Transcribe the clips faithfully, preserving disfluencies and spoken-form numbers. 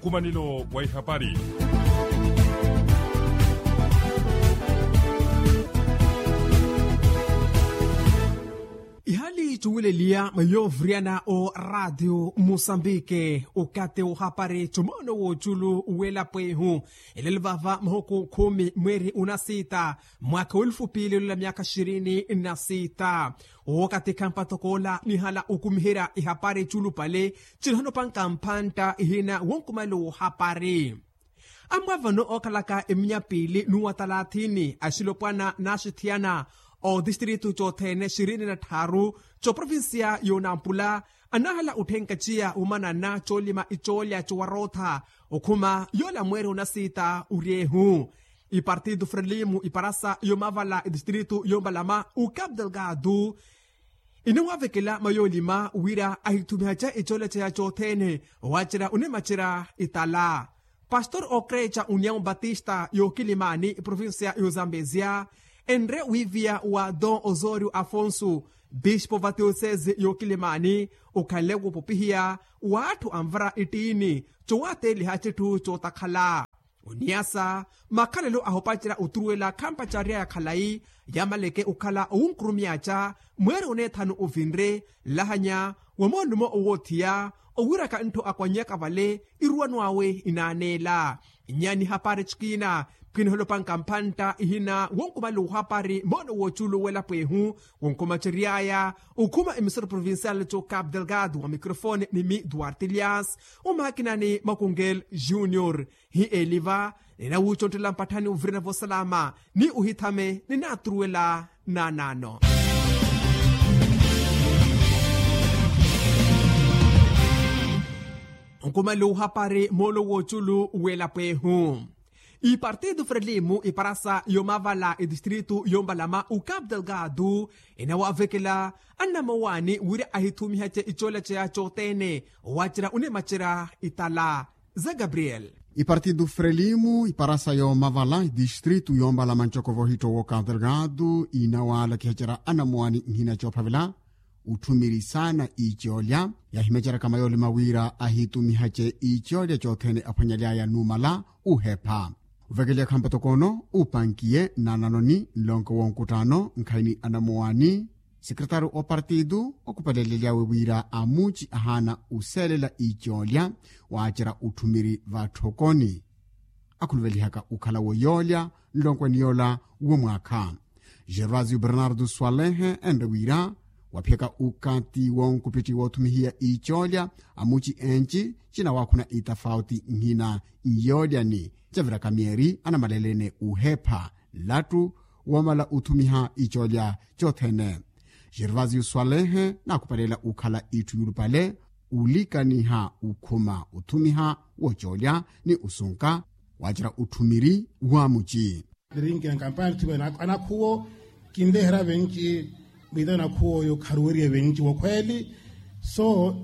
Nkumanelo wa ihapari. Ihali cuweleliya mwa yoovuriyana o raatiyo musambike ukati ohapari cumoono w'oculu w'elapwehu. Elelo vava mahuku khumi mweeri unasita, mwaka w'elufu piili olola myaka xirini na sita. Wookatikha mpatokoola nihala okumiherya ihapari culupale, cinahano panka mpantta ihina wonkumale wohapari. Amwa vano ookhalaka eminya piili n'uwa talathini axilopwana n'axithiyana, otistritu cothene xirini na tthaaru coprovincia y'onampula, anahala otthenka ciya womanana coolima icoolya cowarootha okhuma yoola mweeri onasiita oryeehu. Ipartido frelimo iparasa yoomavala etistritu yoompalama ucap delgado, inawavekela mayoolima wira ahithumihace icoolya ceya cothene, waacerya onimacerya itala. Pastor okreca união batista yookilimani iprovincia y'ozambezia, enre wiiviya wa don osorio afonso, bispo va tiosese yookilimani, okhanle woopopihiya w'atthu anvara ittiini, cowaateliha citthu cootakhala. Oniyasa makhalelo ahopacerya oturuwela khampacarya ya khalayi, yamaleke okhala owunkurumyaca mweeri oneethanu ovinre, nlahanya wa moolumo owoothiya, owiraka ntthu akwannyaka vale iruwano awe inaaneela. Nyaani hapari cikina, pwiniholopanka mpantta ihina wonkumale ohapari moono w'oculu w'elapwehu, wonkumaceryaya okhuma emisoro provincial co cap delgado wa microfone ni mi duarte elias, omakinani makungel junior. Hi eliva ninawuuconttela mpatthani ovirina vosalama ni ohithame ninaaturuwela. Naanaano nkumale ohapari moolo w'oculu w'elapwehu. Ipartido frelimo iparasa yoomavala etistritu yoompalama ucap delgado, inawavekela annamowaani wira ahithumihace icoolya ceya cothene, waacerya onimacerya itala. Za gabriel. Ipartido frelimo iparasa yoomavala etistritu yoompalama ncoko vohitto w'ucap delgado inawaalakihacerya anamowaani nhina coophavela otthumiri saana icoolya, yaahimecerya kama yoolima wira ahittumihace icoolya cothene aphwanyaly'aya numala uhepha. Ovekelyakha mpatokoono upankiye nnananoni nlonko wonkuttaano nkhayi ni anamowaani, sekretário opartido okupalelelyawe wira amuci ahaana oseelela icoolya waacerya otthumiri vatthokoni, akhuluvelihaka okhala wo yoolya nlonkweni yoola womwaakha. Gervasio bernardo swalehe enre wira waphiyaka okathi wonkupitthi woothumihiya icoolya amuci enci cinawaakhuna itafauti nhina nyoolyani, caviraka myeeri anamalelene uhepha nlattu woomala othumiha icoolya cothene. Gervasio swalehe naakupalela okhala itthu yulupale olikaniha okhuma othumiha woocoolya ni osunka waacerya otthumiri wa muci. Nirinke nkampani thumela anakhuwo kinleherya venci. Mwita nakhuwo oyo kharuweriye venci wokhweeli. So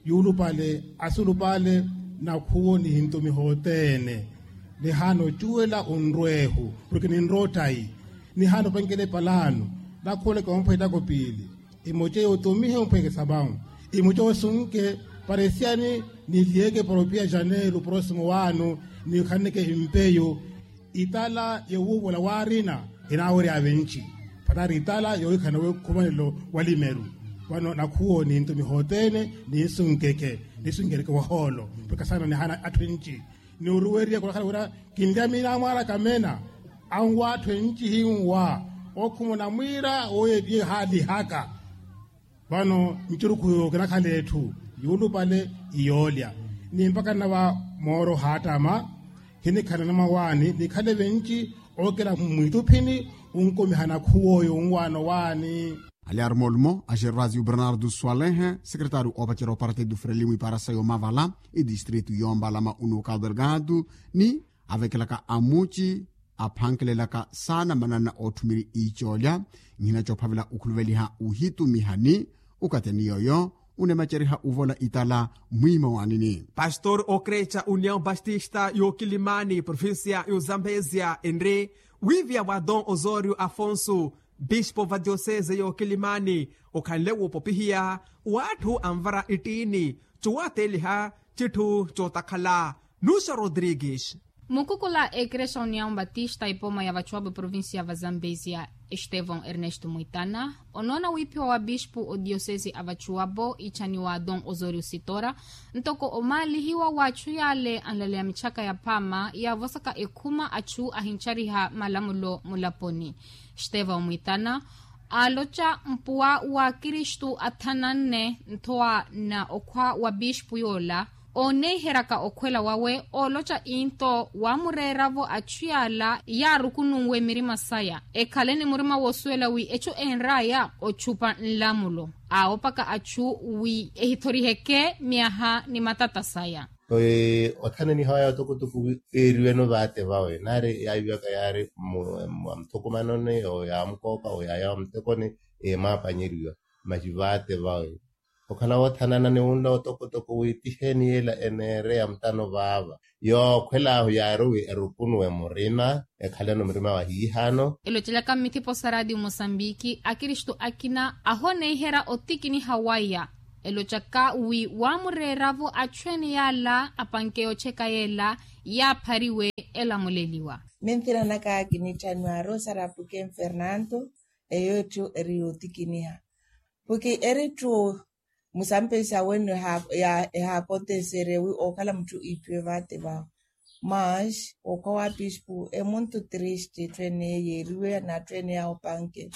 yuulupale asulupale nakhuwo nihintumiha othene. Nihaana ocuwela onrweehu porke ninrottayi. Nihaana opankela epalaano nakhuwo leke omphwetako piili. Imoce yotumihe omphweke sapawu. Imoce osunke paresiyani niliyeke para opiya janeiro prosimo waanu. Nikhaneke empeyo itala yowuuvola waarina. Enaawerya venci patari itala yowikhana wekhumanelo wa limeru. Vano nakhuwo nintumiha othene ninsunkeke ninsunkereke wahoolo. Porke saana nihaana atthu enci. Ni oruweriye khulakhala wira kinlya miina amwaaraka meena anwa atthu enci hinwa. Okhumuna mwiira woye tiye haalihaka. Vano ncurukhu yo kinakhala etthu yuulupale iyoolya. Ni mpakha nnava mooro haattama. Khinikhala namawaani nikhale venci ookela mwiituphini. Onkumiha nakhuw'oyo onwaano waani. Alyaari moolumo a gervasio bernardo swalehe, sekretário oopacerya opartido frelimo iparasa yoomavala etistritu yoompalama unuka delgado, ni avekelaka amuci aphankelelaka saana manana ootthumiri icoolya. Nhina coophavela okhuluveliha ohitumihani okateni yooyo onemaceriha ovola itala mwiima waanini. Pastor okreca união baptista yookilimani provincia y'ozambezia enre wiiviya wa don osorio afonso, bispo va diosese y'okilimani, okhanle woopopihiya w'atthu anvara ittiini cowaateliha citthu cootakhala. Nuxa rodrigues. Mukukula a ekerexa união batista ipoma ya vachuwapo eprovincia va zambezia, estevão ernesto muitana onoona wiiphiwa wa bispu odiyosesi a vachuwapo ichaniwa don osorio sitora, ntoko omaalihiwa wa achu yaale anlaleya mitchaka ya phaama yaavosaka ekhuma achu ahinchariha malamulo mulaponi. Estevão muitana aaloca mpuwa wa kristu athananne nthowa na okhwa wa bispu yoola, ooneeheryaka okhwela wawe ooloca into waamureeravo achu yaala yaarukununwe mirima saya ekhale ni murima woosuwela wi echu enraya ochupa nlamulo aawopaka achu wi ehithoriheke myaha ni matata saya. Othananiha waya otokotoko wi eeriweno vaate vawe naari yaaviwaka yaari muthukumanoni oyaamukooka oyaya wa mutekoni, eemaapanyeriwa maci vaate vawe okhala woothanana ni wunla otokotoko wi tiheeni yeela eneereya mutano vaava. Yookhwelaahu yaari wi erukunuwe murima ekhaleno murima wa hiihaano. Elocelaka mmithipo sa raatiyo musambiki akristu akina ahooneiherya otikiniha waya elocaka wi waamureeravo achu ene yaala apanke yocheka yeela yaaphariwe elamuleliwa. Minthiranaka kinitthanwa rosa rapuken fernando. Eyo etthu eri yootikiniha puki eri etthu musampesa wenu ehaakonteserye wi ookhala mutthu iiphiwe vaate vawe. Mas okhwa wa pispu emuntu triste etthu ene yeeriwe na atthu ene yaawo panke.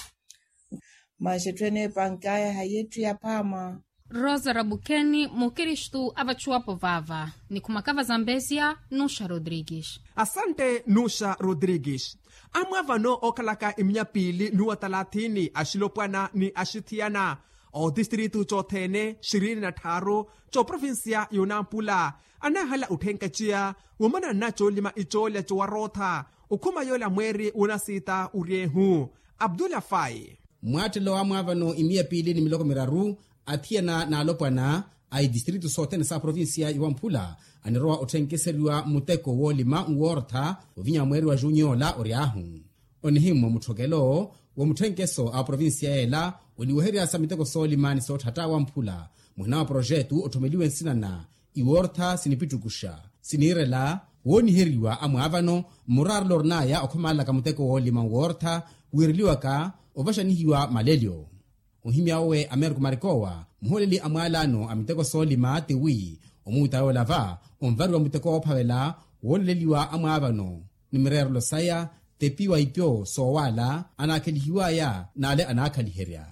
Mas etthu ene epankaya hayi etthu yaphaama. Rosa rabukeni mukristu avachuwapo vaava. Nikhumaka vazambesia nuxa rodrigues. Asante nuxa rodrigues. Amwa vano ookhalaka iminya piili nuwa talathini axilopwana ni axithiyana otistritu cothene xirini na tthaaru coprovinsiya yonampula anaahala otthenkaciya womana nna coolima icoolya cowarootha okhuma yoola mweeri wonasiita uryeehu. Abdullah fai. Mwaattelo wa mwaavano imiya piili ni miloko miraru athiyana n'alopwana a itistritu sothene sa provinsiya yowamphula anirowa otthenkeseryiwa muteko woolima nwoortha ovinya mweeri wa junyo ola oryaahu. Onihimmwa mutthokelo wa mutthenkeso a provinsiya yeela oniweherya sa miteko soolima ni sootthatta wamphula muhina wa porojetu otthomeliwe nsina na iwoortha sinipittukuxa siniirela wooniheriwa amwaavano mmuraarelo orin'aya okhomalelaka muteko woolima nwoortha wiireliwaka ovaxanihiwa malelyo. Ohimya owe ameriko marikowa muhooleli a mwaalaano a miteko soolima tiwi omuuta yoola va onvariwa muteko woophavela wooleleliwa amwaavano ni mireerelo saya tepiwa ipyo soowaala anaakhelihiwaya n'ale anaakhaliherya.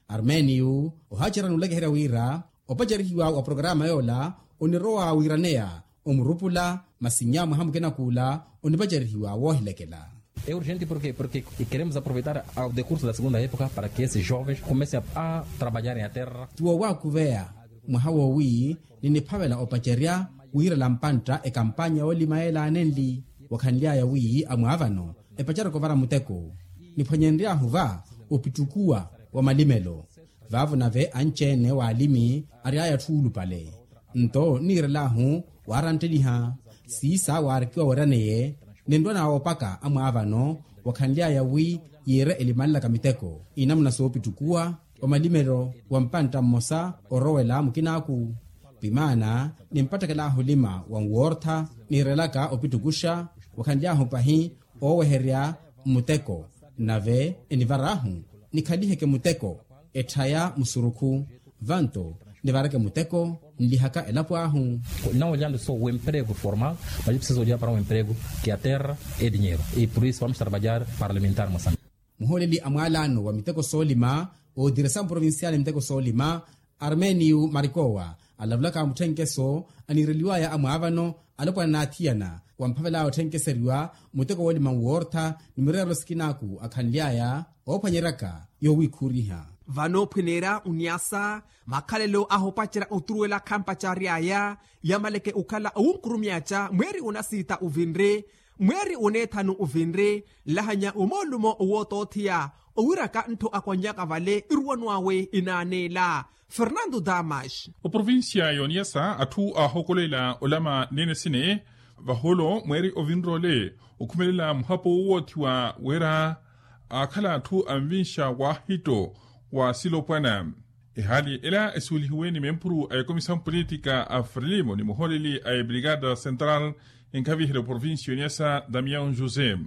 Armênio ohaacerya n'ulekeherya wira opacerihiwa wa porokaraama yoola onirowa wiiraneya omurupula masi nnya mwaha mukina k'ula onipacerihiwa woohilekela. É urgente porke porke keremos aproveitar ao decurso da segunda época para ke esses jovens comecem a trabalhar em a terra. Tiwo waakuveya mwaha woowi niniphavela opacerya wiirela mpantta ekampanya yoolima yeelaanenli wakhanly'aya wi amwaavano epacerya okhovara muteko niphwanyenry'ahu va opittukuwa wa malimelo. Vaavo nave anci-ene w'alimi ary'aya atthu oolupale nto nniirel'ahu waarantteliha siisa waarikiwa weraneye ninrwa naawoopaka amwaavano wakhanly'aya wi yiire elimanlaka miteko inamuna soopittukuwa wa malimelo wa mpantta mmosa orowela mukin'aku. Vimaana nimpattekel'ahu olima wa nwoortha niirelaka opittukuxa wakhanly'ahu pahi ooweherya mmuteko nave enivar'ahu nikhaliheke muteko etthaya musurukhu vanto nivareke muteko nlihaka elapo ahu. Não olhando só o emprego formal mas preciso olhar para um emprego que a terra é dinheiro e por isso vamos trabalhar para alimentar moçambique. Muhooleli a mwaalaano wa miteko soolima otiresa mprovincial miteko soolima armênio marikowa alavulaka mutthenkeso aniireliwaya amwaavano alopwana n'athiyana wamphavel'aya otthenkeseryiwa muteko woolima nwoortha ni mireerelo sikin'aku akhanly'aya oophwanyeryaka yoowiikhuuriha. Vano ophweneerya oniasa makhalelo ahopacerya oturuwela khampacary'aya yamaleke okhala owunkurumy'aca mweeri onasiita ovinri mweeri oneethanu ovinri nlahanya omoolumo owootootheya owiraka nttho akwannyaka vale iruwano awe inaaneela. Fernando damas. Oprovincia y'oniasa atthu aahokolela olama nene sine vaholo mweeri ovinroole okhumelela muhapo wowoothiwa wira aakhala atthu anvinxa waahitto wa silopwana. Ehaali ela esuwelihiwe ni mempuru a ekomisawu politika a frelimo ni muhooleli a ebrigada central enkhaviherya oprovincia oniyasa damiao josé.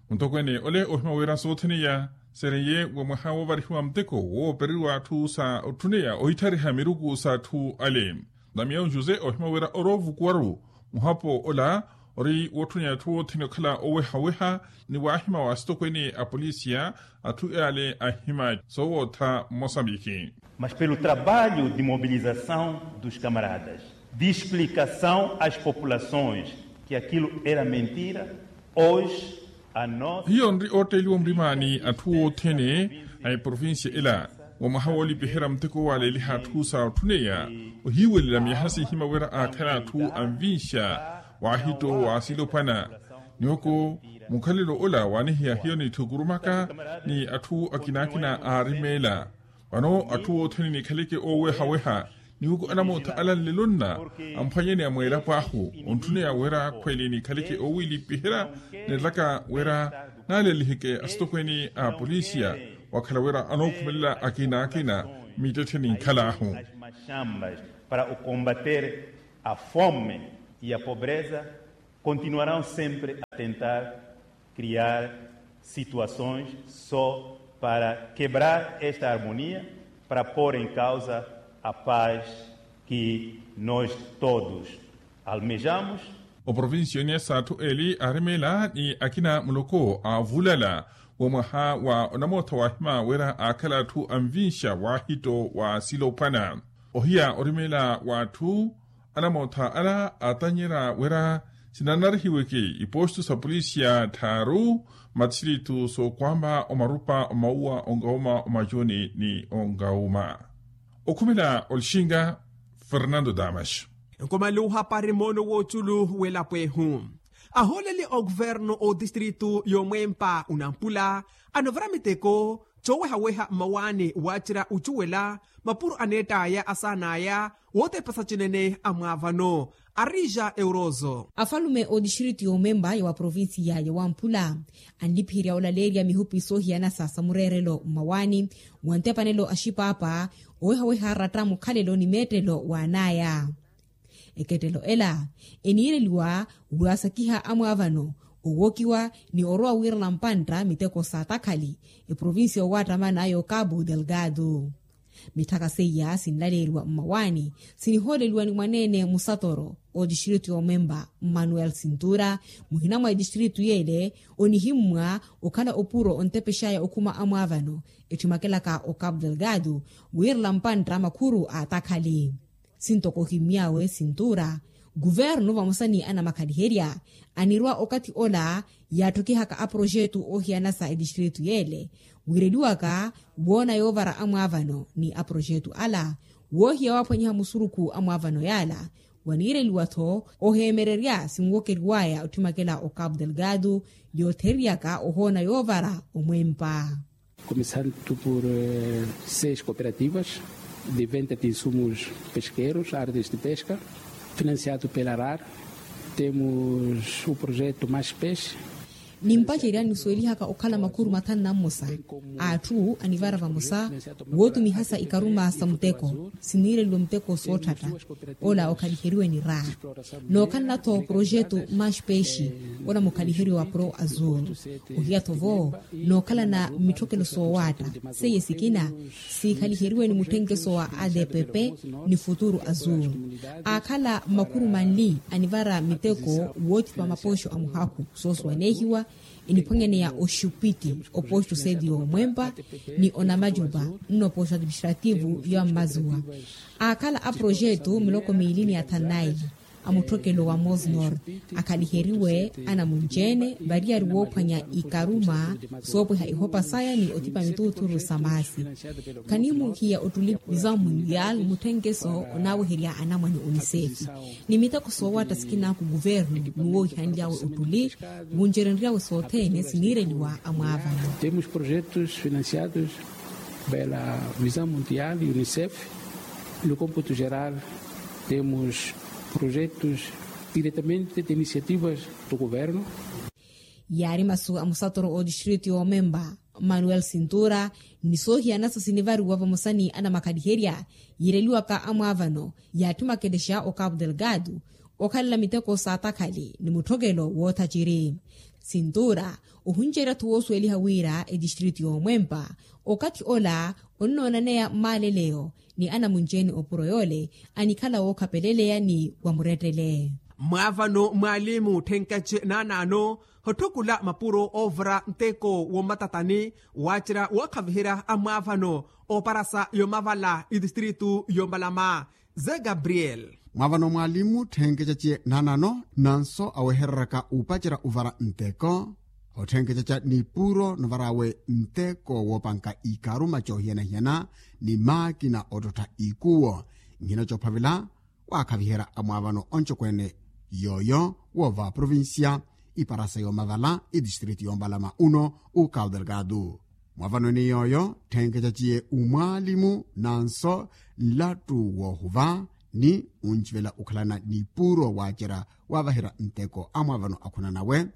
Muntokweene ole ohima wira soothene iya sereiye wa mwaha woovarihiwa muteko woopereriwa atthu sa otthuneya ohitthariha miruku s'atthu ale. Damiao josé ohima wira oroovukuwaru muhapo ola ori wotthuneya atthu othene okhala owehaweha ni waahima wa asitokweene a polisiya atthu ale ahima soowootha mosambiki. Mas pelo trabalho de mobilização dos camaradas, de explicação às populações que aquilo era mentira, hoje a nossa hiyo nri ootteeliwa murimaani atthu othene a eprovincia ela wa mwaha woolipiherya muteko waaleliha atthu sa otthuneya ohiiwelela myaha sihima wira aakhala atthu anvinsha waahitto wa silopwana. Niwoko mukhalelo ola waanihiya hiyo nitthukurumaka ni atthu akinaakina aarimeela. Vano atthu othene nikhaleke oowehaweha niwoko anamootha ala nlelo nna amphwanyene a mweelapo ahu ontthuneya wira khweli nikhaleke oowilipiherya nilaka wira naaleliheke asitokweene a polisiya wakhala wira anookhumelela akinaakina mittetthe ninkhal'ahu. Para o combater a fome e a pobreza continuarão sempre a tentar criar situações só para quebrar esta harmonia, para pôr em causa a paz que nós todos almejamos. Oprovincia oniyasa atthu eli aarimeela ni akina muloko aavulala wa mwaha wa onamootha waahima wira aakhala atthu anvinsha waahitto wa silopwana. Ohiya orimeela w'atthu anamootha ala aatanyerya wira sinanarihiweke ipostu sa polisiya tthaaru matistiritu sookwamba omarupa omauwa ongauma omajuni ni ongauma. Okhumela olixinga fernando damas. Nkomaluha pari moono w'oculu w'elapo ehu ahooleli a okuvernu otistritu y'omwempa onampula anovara miteko coowehaweha mmawaani waacerya ocuwela mapuro aneett'aya asaan'aya wootepesa cinene amwaavano. Arija eurozo afalume otistritu y'omwempa ya wa provincia ya wamphula anlipiherya olaleerya mihupi soohiyanasa sa mureerelo mmawaani wa ntepanelo a xipaapa owehaweha aratta mukhalelo ni meettelo w'an'aya. Ekettelo ela eniireliwa waasakiha amwaavano owokiwa ni orowa wiirana mpantta miteko sa takhali eprovincia owattamana yo cabo delgado. Mitthaka seiya sinlaleeriwa mmawaani sinihooleliwa ni mwaneene musatoro otistritu y'omwempa mmanuel sintura muhina mwa etistritu y'ele onihimmwa okhala opuro ontepex'aya okhuma amwaavano ettimakelaka o cabo delgado wiirela mpantta makhuru a takhali. Sintoko ohimmy'awe sintura kuvernu vamosa ni anamakhaliherya anirwa okathi ola yaatthokihaka aprojetu oohiyanasa etistritu y'ele wiireliwaka woona yoovara amwaavano ni aprojetu ala woohiya waaphwanyiha musurukhu amwaavano y'ala waniireliwa-tho oheemererya sinwokeriw'aya otthimakela o cabo delgado yootheriyaka ohoona yoovara omwempa. Começando por seis cooperativas de venda de insumos pesqueiros, artes de pesca, financiado pela rar. Temos o projeto mais peixe. Nimpacerya nisuwelihaka okhala makhuru mathanu na mmosa a atthu anivara vamosa wootumihasa ikaruma sa muteko siniireliwe muteko sootthatta ola okhaliheriwe ni raa. Nookhalana-tho projetu mash peixe ola mukhaliheriwe wa pro azul ohiya-tho vo nookhalana mitthokelo soowaatta seiye sikina sikhaliheriwe ni mutthenkeso wa adpp ni futuru azul. Aakhala makhuru manli anivara miteko woothipa mapoxo a muhakhu soosuwaneehiwa eniphwanyaneya oxupiti opoxo seti y'omwempa ni onamacupa nnopoxo administrativu ya mmazuwa. Aakhala aprojetu miloko miili ni athanu na ili a mutthokelo wa mosnor akhaliheriwe anamunci-ene variyari woophwanya ikaruma soopweha ihopa saya ni othipa mituuthuru sa maasi. Khanimuhiya ottuli vision mundial mutthenkeso onaaweherya anamwane unicef ni miteko soowatta sikinaku kuvernu ni woowihanly'awe ottuli wuncerenry'awe sothene siniireliwa amwaavano. Temos projetos financiados pela visão mundial e unicef. No computo geral temos projetos diretamente de iniciativas do governo. Yaari masu a musatoro otistritu y'omempa Manuel sintura ni soohiyana-so sinivariwa vamosa ni anamakhaliherya yiireliwaka amwaavano yaatthi makelexa o cabo delgado okhalela miteko saatakhali ni mutthokelo woothaciri. Sintura ohunceriya-tho woosuweliha wira etistritu y'omwempa okathi ola onnoonaneya mmaaleleyo ni anamunci-ene opuro yoole anikhala wookhapeleleya ni wa murettele. Mwaavano mwaalimu thenkeche naanaano hotthukula mapuro oovura nteko wommatatani waacerya wookhaviherya amwaavano ooparasa yomavala itistritu yombalama ze gabriel. Mwaavano mwaalimu thenkeche naanaano nanso awehereraka upacerya uvara nteko othenkecaca nipuro novar'awe nteko woopanka ikaruma coohiyana-hiyana ni maakina ottottha ikuwo. Nhina coophavela waakhaviherya amwaavano oncokweene yooyo woova provincia iparasa yoomavala itistritu yoomalama uno ukawo delgado. Mwaavano-ene yooyo thenkecaciye umwaalimu nanso nlattu woohuva ni uncivela okhalana nipuro waacerya waavaherya nteko amwaavano akhuna nawe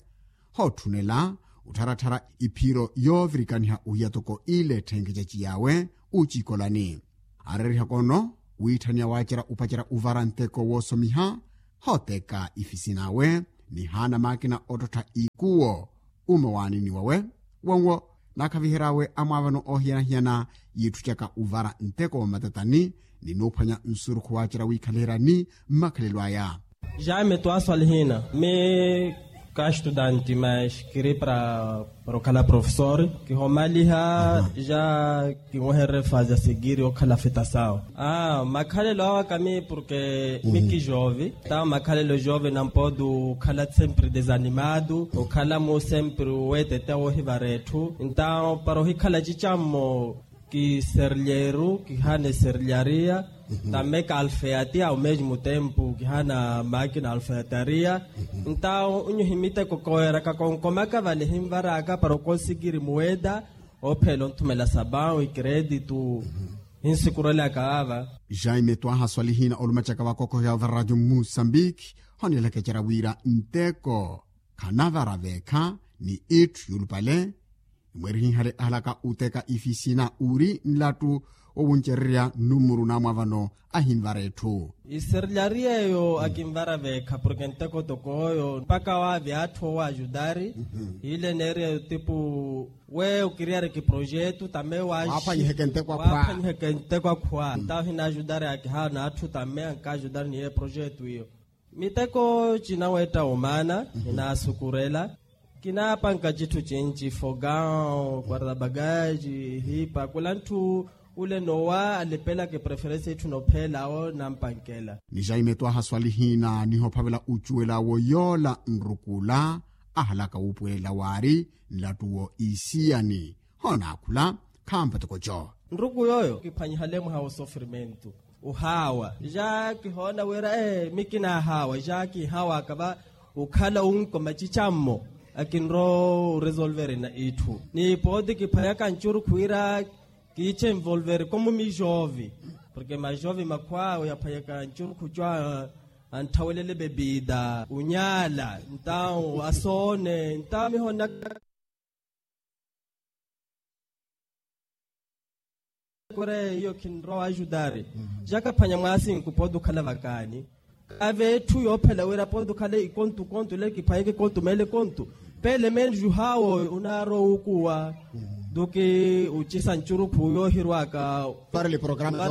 hootthunela ottharattharya iphiro yoovirikaniha ohiya toko ile etthenkecaci yaawe ucikolani. Aareerihaka ono wiitthaniya waacerya upacerya uvara nteko woosomiha hooteka ifisin'awe ni haana maakina ottottha ikuwo umawaanini wawe wanwo naakhavihery'awe amwaavano oohiyana-hiyana yiitthucaka uvara nteko wa matatani ni nuuphwanya nsurukhu waacerya wiikhaliheryani mmakhalelo aya. Jaime twaswali hina mi ka estudante mas kiri para okhala profesor kihomaliha ja kinwehererye fase ya segiri okhala fitasawo. Makhalelo awa kami porke mi ki jove ntawo makhalelo jove nampodu okhala sempre desanimado okhala mu sempre weetete woohivara etthu ntawo para ohikhala cicammo. Kiserlyeru kihana eserlyariya. Tamme ka alfeyatia ao mesmo tempo kihana makina alfeyataria. Ntawo nyu himiteko kooyeraka konkomaka vale hinvaraka para okonsikiri muweda ophela onthumela sabawu ikredito. Hinsikurelaka vava. Jaime twahaswali hina olumacaka vakokohya va radio musambiki honelaka ecera wira nteko khanavara veekha ni itthu yulupale. Imweerihinhale ahalaka uteka ifisina uri nlattu owuncererya numuru namwa vano ahinvara etthu. Iserlyari eyo akinvara veekha porke nteko toko oyo mpaka waavya atthu owaajudari. Ile neeriya otipu we okiriyari kiprojetu tame waaphwanyiheke nteko akhwa. Ntawo hinaajudari akihaana atthu tame ankaajudari ni ye projetu iyo. Miteko cinaweetta omaana hinaasukurela. Kinaapanka citthu cinci fogaw quartabagaji hipa kula ntthu ule nowa alepelaka epreferense itthu nopheelawo nampankela. Ni jaime twahaswali hina nihophavela ocuwel'awo yoola nrukula ahalaka wuupuwelela waari nlattuwo isiyani. Hoonaakhula khampatoko co. Nruku yooyo kiphwanyihale mwaha wosofrimentu ohaawa ja kihoona wira ee mi kinahaawa ja kinhaawaka va okhala onko macicammo akinrowa oresolveri na itthu ni pooti kiphwanyaka ncurukhu wira kiiche envolveri komu mijovi porke majovi makhwaawe yaphwanyaka ncurukhu co antthawelele bebida onyaala ntawo asoone ntawo mihoonaka. Kore iyo kinrowa ajudari jakaphwanya mwaasinku pooti okhala vakaani kave etthu yoophela wira pooti okhala ikontu kontu ile kiphwanyeke kontu meele kontu. Pele meene juhaawo oyo onaarowa okuwa duki ocisa ncurukhu yoohirwaka. Para le programa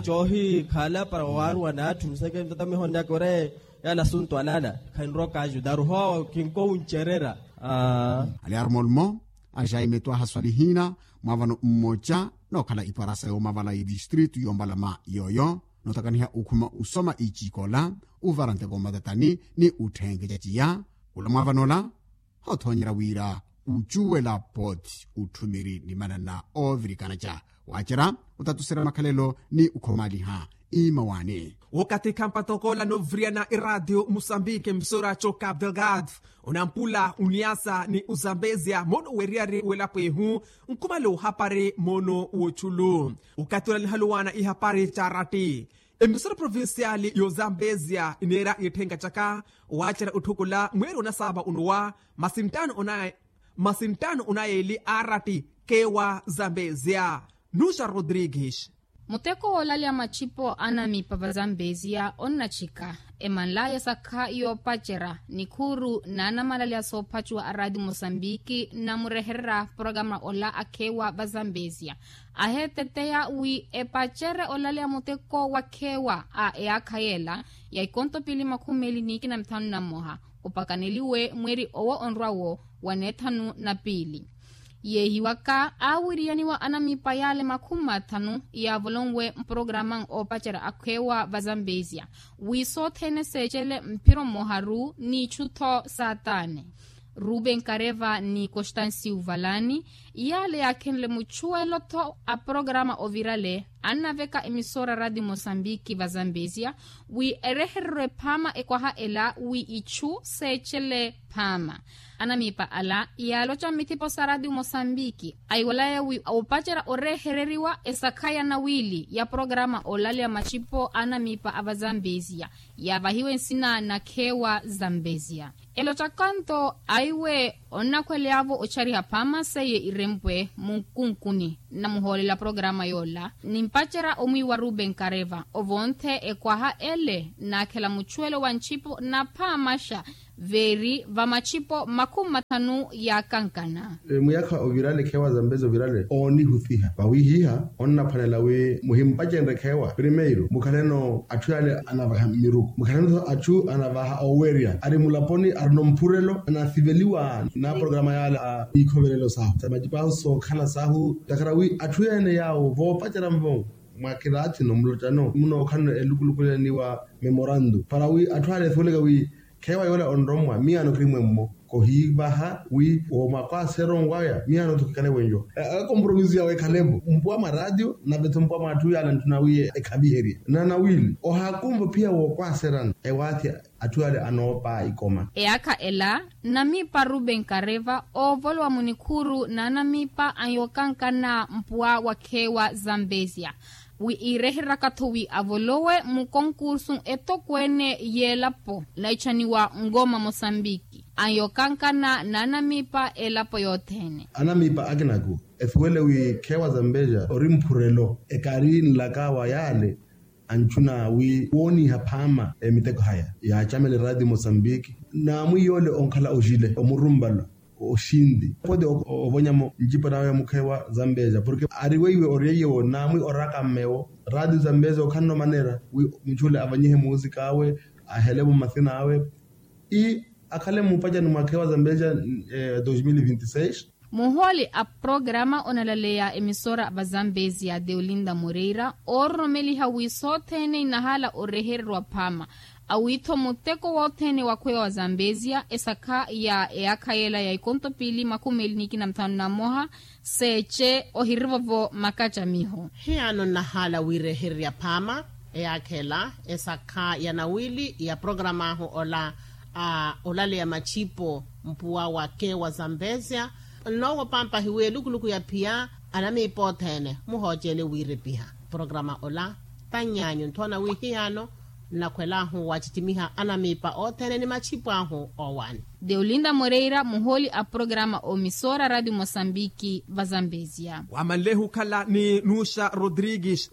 coohikhala para owaaruwa n'atthu museke ntata mihoonaka ore yala asuntu alala khanrowa kaajudaru hoowo kinkowuncerera. Ali aruma olumo ajaime twahaswali hina mwa vano mmoca nookhala iparasa yoomavala yedistritu yombalama yooyo nootakaniha okhuma osoma icikola ovara nteko matatani ni otthenkeca ciya. Kula mwa vanola hothoonyera wira ocuwela pooti otthumiri ni manana oovirikanaca waacerya otatuserya makhalelo ni okhomaliha imawaani. Wakathi khampatokoola noviriyana eraatiyo musambiki emisora co cabo delgado onampula oniasa ni ozambezia moono weriyari welapo ehu nkhumale ohapari moono woculu. Wakathi ola nihaluwana ihapari caratti emisora provinciali y'ozambezia ineera itthenka caka waacerya otthukula mweeri onasaava onowa masi nttaano onaye masi nttaano onaye eli aarati Kewa zambezia. Nuxa rodrigues. Muteko woolalya machipo anamipa va zambezia onnachika. Emanlaya esakha yoopacerya nikhuuru n'anamalalya soophacuwa a raati mosambiki namurehererya porokaramu ola akhewa va zambezia. Aheeteteya wi epacere olalya muteko wa khewa a eyaakha yeela ya ikonto piili makhumi meeli n'ikina mithanu na mmoha opakaneliwe mweri owo onrwa-wo wa neethanu na piili. Yeehiwaka aawiriyaniwa anamipa yaale makhumi mathanu yaavolonwe mporokaramu oopacerya akhewa va zambezia wi sothene seecele mphiro mmoharu n'ichu-tho saatane. Ruben kareva ni constancio valani iyaale yaakhenle muchuwelo-tho a porokaramu ovirale annaveka emisora raati mosambiki va zambezia wi erehererwe phaama ekwaha ela wi ichu seecele phaama. Anamipa ala yaaloca mmithipo sa raati mosambiki aiwalaya wi oopacerya orehereriwa esakha ya nawiili ya porokaramu olalya machipo anamipa a va zambezia yaavahiwe nsina na khewa zambezia. Elocakanto aiwe onnakhweleyavo ochariha phaama seiye irempwe munkunkuni nnamuhoolela porokaramu yoola nimpacerya omwiiwa ruben kareva ovonthe ekwaha ele naakhela muchuwelo wa nchipo na phaamaxa veeri va machipo makhumi mathanu yaakankana. Mwiyaakha ovirale khewa zambezia ovirale oonihuthiha vawihiha onnaphwanela wi muhimpacenrye khewa primeiro mukhaleno atthu yaale anavaha miruku mukhaleno-tho atthu anavaha owerya ari mulaponi arino mphurelo anasiveliwa na porokaramu yaale a ikhovelelo sahu sa macipahu sookhala sahu ntakhara wi atthu ene yaawo voopacerya-vo mwa kiraathino mulotano munookhalano elukulukulelaniwa memorando para wi atthu ale ethuweleke wi khewa yoola onrommwa miyaano khiri mwemmo kohiivaha wi womwakwaaseronwaya miyaano-tho khikale wenjo. Akomproviso yawe ekhale-vo mpuwa mwa ratio nave-tho mpuwa mwa atthu yaale antthuna wi ekhaviherye na nawiili ohaakumva ophiya wookwaaserana ewaathi atthu yaale anoopa ikoma. Eyaakha ela namipa ruben kareva oovolowa munikhuuru n'anamipa anyookankana mpuwa wa khewa zambezia wi iirehereraka-tho wi avolowe mukonkursu etokweene y'elapo naichaniwa ngoma mosambiki anyookankana n'anamipa elapo yothene. Anamipa akinaku ethuwele wi khewa zambezia ori mphurelo ekari nlaka wa yaale anchuna wi wooniha phaama emiteko haya yaacamela eraati mosambiki naamwi yoole onkhala ojile omurumbalo oxinti pote ovonyamo ncipo nawe mukhewa zambezia porke ari weiwe oryeiyewo naamwi oraka mmewo raati zambezia okhanno manera wi muchule avanyihe muusika awe ahelevo mathina awe i akhale mupacani mwakhewa zambezia. Dos mil vinti seis. Muhooli a programa onalaleya emisora va zambezia deolinda moreira oororomeliha wi sothene inahala orehererwa phaama awi-tho muteko wothene wakhweya wa zambezia esakha ya eyaakha yela ya ikonto piili makhumi meeli n'ikina muthanu na mmoha seece ohirivovo makacamiho. Hiyano nnahala wirehererya phaama eyaakha ela esakha ya nawiili ya programa ahu ola a olaleya machipo mpuwa wa kewa zambezia. Nnoowo pampahi wi elukuluku ya phiya anamiipa othene muhoocele wiirepiha programa ola. Tannyaanyu nthoona wi hiyano nnakhwelaahu wacittimiha anamiipa othene ni machipo ahu owaani. Deolinda moreira muhooli a programa omisora radio mosambiki va zambezia. Wamanlehi okhala ni nuxa rodrigues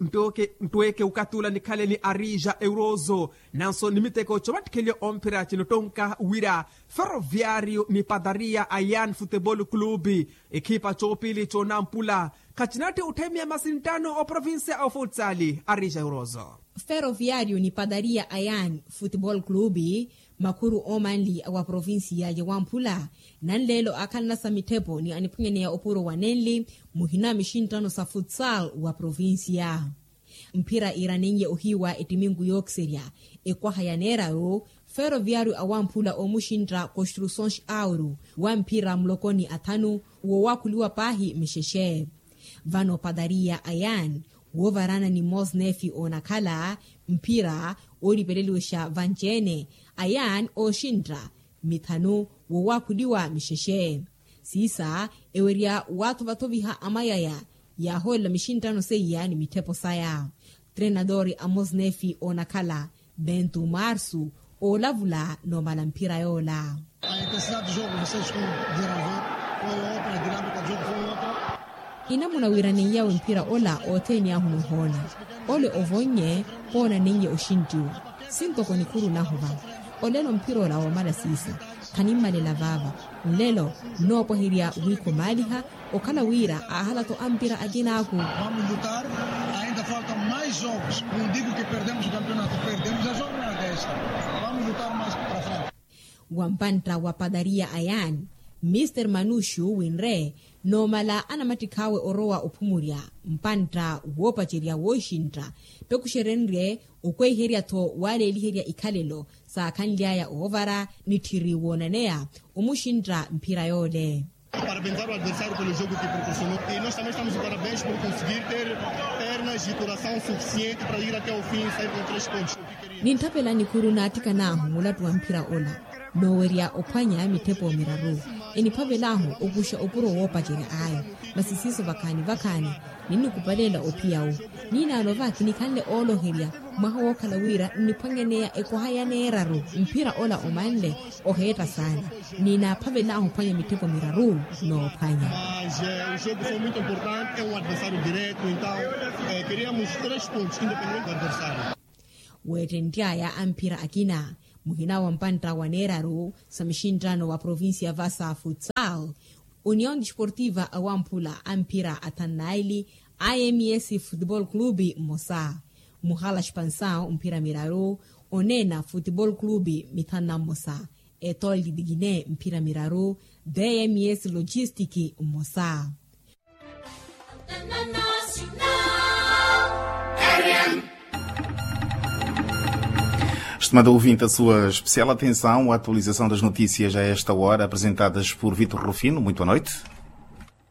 ntweke okathi ula nikhale ni arija eurozo nanso ni miteko covattikheliwa omphira cinottonka wira ferroviario ni padaria ayan futebol club ekhipa coopili conampula khacinatthi otthemiya masinttano oprovincia ofutsali arija eurozo. Ferroviario ni padaria ayan futebol club makhuru omanli wa provincia ya wamphula nanleelo akhalanasa mitthepo ni aniphunyaneya opuro wa nenli muhina mixinttano sa futsal wa provincia. Mphira iranenye ohiiwa ettiminku yookiserya ekwaha ya neeraru ferroviario awamphula omuxintta construções auro wa mphira mulokoni athanu wowakhuliwa paahi mixexe. Vano padaria ayan woovarana ni mosnefi onakhala mphira oolipeleliwexa vanci-ene ayan ooxintta mithanu wowakhuliwa mixexe. Siisa ewerya waathovathoviha amayaya yaahoolela mixinttano seiya ni mitthepo saya. Trenadori a mosnefi onakhala bentu marsu oolavula noomala mphira yoola. A intensidade do jogo vocês estão desenvolvendo foi outra a dinâmica do jogo foi outra. Inamuna wiiraneiyawe mphira ola othene ahu noohoona. Ole ovonnye poonaneiye oxintiwa. Sintoko nikhuru nahu va. Olelo mphira ola woomala siisa. Khanimmalela vaava. Nlelo nnoopwahirya wiikhomaaliha. Okhala wira aahala-tho ampira akinaaku. Vamos lutar. Ainda faltam mais jogos. Não digo que perdemos o campeonato, perdemos a jornada esta. Vamos lutar mais para frente. Wa mpantta wa padariya a yaani, mister manuxu winre noomala anamattikhaawe orowa ophumurya mpantta woopacerya wooxintta. Pekuxerenrye okweiherya-tho waaleeliherya ikhalelo saakhanly'aya oovara nitthiri woonaneya omuxintta mphira yoole. Parabéns ao adversário pelo jogo que proporcionou. E nós também estamos de parabéns por conseguir ter pernas e coração suficiente para ir até ao fim e sair com três pontos. Nintthapela nikhuru naattikan'ahu mulattu wa mphira ola noowerya ophwanya mitthepo miraru. Eniphavel'ahu okuxa okuro woopacerya ayo. Masi siiso vakhaani vakhaani ninnikupaleela ophiya-wo. Niinaano va kinikhanle ooloherya mwaha wookhala wira nniphwanyaneya ekoha ya neeraru. Mphira ola omanle oheetta saana. Ninaaphavel'ahu ophwanya mitthepo miraru. Noophwanya. Mas o jogo foi muito importante, é um adversário direto, então queríamos três pontos independente do adversário. Weettentt'aya a mphira akina muhina wa mpantta wa neeraru sa muxinttano wa provincia vasa futsal, union desportiva awamphula a mphira athanu naili, ims football club mmosa, muhala expansaw mphira miraru, oneena football club mithanu na mmosa, etol didikine mphira miraru, dms logistic mmosa. Estimada ouvinte, a sua especial atenção à atualização das notícias a esta hora, apresentadas por Vitor Rufino. Muito boa noite.